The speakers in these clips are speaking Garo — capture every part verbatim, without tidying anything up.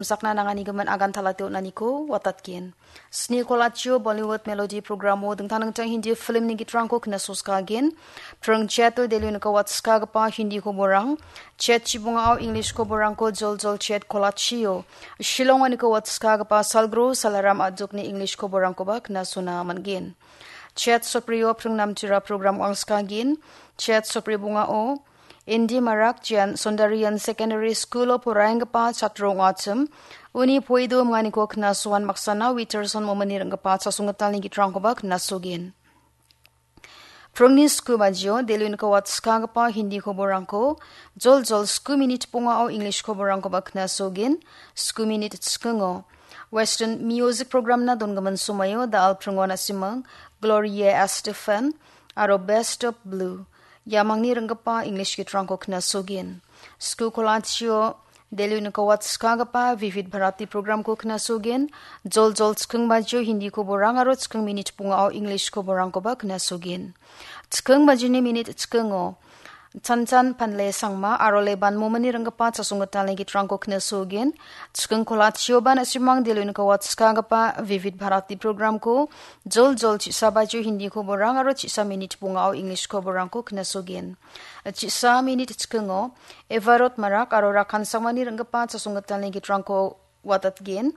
sakna nanganigimin agan talate on·aniko watatgen. Sni kolachio Bollywood Melody programo dingtang dingtang Hindi filmni gitrangko knasoskagen. Pring Chet-o Delhi niko watskagipa Hindi koborang, Chet chibongao English koborangko joljol Chet kolachio Shillong-o niko watskagipa Salgro Salaram Adjokni English koborangkoba knasona man·gen. Chet Soprio pring namtira program wangskagen. Chet Sopri bongao Indi Marak Jan Sondarian Secondary School-o poraienggipa chatro ong·achim. Uni poido minganiko knasoan maksana Witerson Momini ringgipa chasonggitalni gitrangkoba knasogen. Pringni sku bajio Delhi niko watskagipa Hindi koborangko joljol sku minit bongao English koborangkoba knasogen. Sku minit chikingo Western Music Programna dongimin somoio da·al pringon a·simang Gloria Estefan aro Best of Blue iamangni ringgipa English gitrangko knasogen. Sku kolachio Delhi niko watskagipa Vivid Bharati programko knasogen. Joljol chiking bajio Hindi koborang aro chiking minit bongao English koborangkoba knasogen. Chiking bajini minit chikingo Chanchan Panle Sangma aro Leban Momini ringgipa chasonggitalni gitrangko knasogen. Chiking kolachioba na·simang Delhi niko watskagipa Vivid Bharati programko joljol chisa bajio Hindi koborang aro chisa minit bongao English koborangko knasogen. Chisa minit chikingo Evarot Marak aro Rakan Sangmani ringgipa chasonggitalni gitrangko watatgen.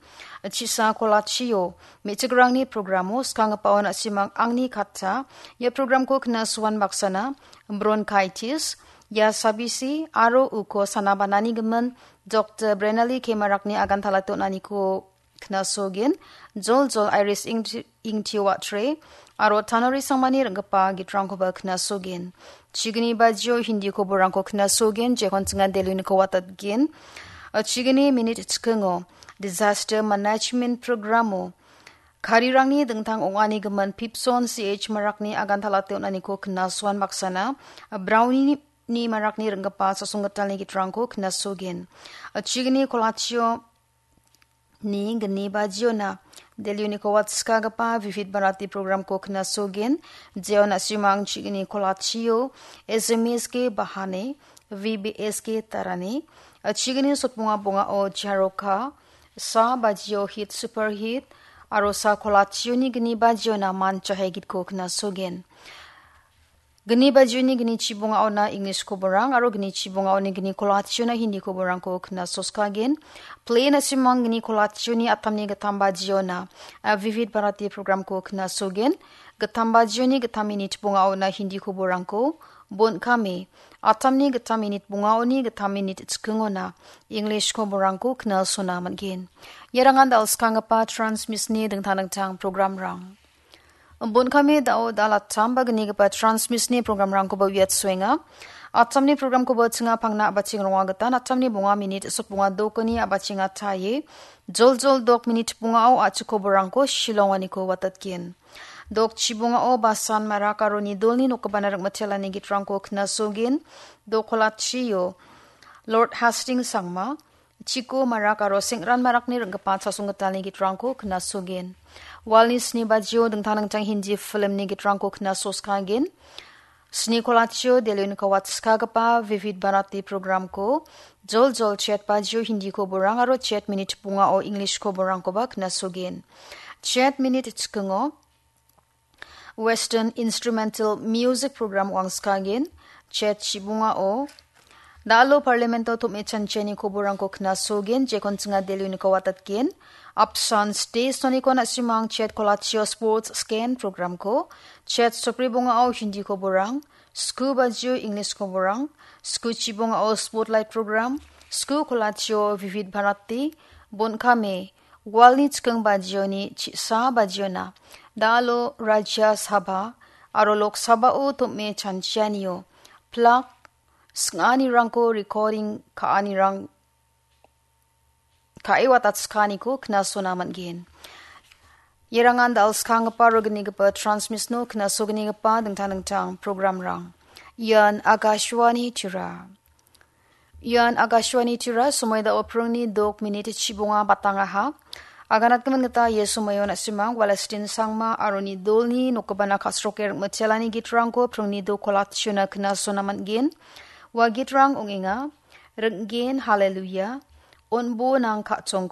Chisa kolachio me·chikrangni programo skanggipaon a·simang angni katta. Ia programko knasoan baksana bronchitis, ia sabisi aro uko sanabanani gimin Doktor Brenali Kemarakni agan talate on·aniko knasogen. Joljol Iris Ingti-, Ingtio Watre aro Tanori Sangmani ringgipa gitrangkoba knasogen. Chigni bajio Hindi koborangko knasogen, jekon chingan Delhi niko watatgen. Chigni minit chikingo Disaster Management Programo karirangni dingtang ong·ani gimin Pipson C H Marakni agan talate on·aniko knasoan baksana Brownie ni Marakni ringgipa chasonggitalni gitrangko knasogen. Chigni kolachio ni gni bajiona Delhi niko watskagipa Vivid Bharati programko knasogen. Jeon a·simang chigni kolachio S M S K Bahane, V B S K Tarane, chigni sotbonga bongao Jaroka, sa bajio Hit Super Hit, aro sa kolachioni gni bajiona Manchahe gitko knasogen. Gni bajioni gni chibongaona English koborang aro gni chibongaoni gni kolachiona Hindi koborangko knasoskagen. Play na·simang gni kolachioni atamni gittam bajiona, a, Vivid Bharati programko knasogen. Gittam bajioni gittam minit bongaona Hindi koborangko, bon kame, atamni gittam minit bongaoni gittam minit chikingona English koborangko knasona man·gen. Iarangan dal·skanggipa transmisni dingtang dingtang programrang. Bon kame dao dal attam ba gnigipa transmisni programrangkoba uiatsoenga. Attamni programkoba chinga pangna a·bacheng ronga gita, attamni bonga minit sokbonga dokoni a·bachenga taie. Joljol dok minit bongao a·chik koborangko Shillonganiko watatgen. Dok chibongao Basan Marak aro Nidolni nokgipana ringmitelani gitrangko knasogen. Dok kolachio Lord Hastings Sangma, Chiko Marak aro Sengran Marakni ringgipa chasonggitalni gitrangko knasogen. Walni sni bajio dingtang dingtang Hindi filmni gitrangko knasoskagen. Sni kolachio Delhi niko watskagipa Vivid Bharati programko joljol chet bajio Hindi koborang aro chet minit bongao English koborangkoba knasogen. Chet minit chikingo Western Instrumental Music Program wangskagen, chet chibongao. Dalo Parlamento tom·e chanchiani koborangko knasogen, jekon chinga Delhi niko watatgen. Apsan State Sonikon a·simang chet kolachio Sports Scan Programko, chet sopri bongao Hindi koborang, sku bajio English koborang, sku chibongao Spotlight Program, sku kolachio Vivid Bharati, bon kame, Walni chiking bajioni chisa bajiona dalo Rajya Sabha aro Lok Sabhao tom·e chanchianio plak sing·anirangko recording ka·anirang ka·e watatskianiko knasona man·gen. Ierangan dal·skanggipa aro gnigipa transmisno knasognigipa dingtang dingtang programrang. Ian Akashvani Tira. Ian Akashvani Tira, somoi dao pringni dok minit chibonga batangaha. Aganatgimin gita ia somoio na·simang Walestin Sangma aro Nidolni nokgipana ka·sroke ringmitelani gitrangko pringni dok kolachona knasona man·gen. Ua gitrang ong·enga, Ring·gen Haleluya, On·bo nang ka·chongko,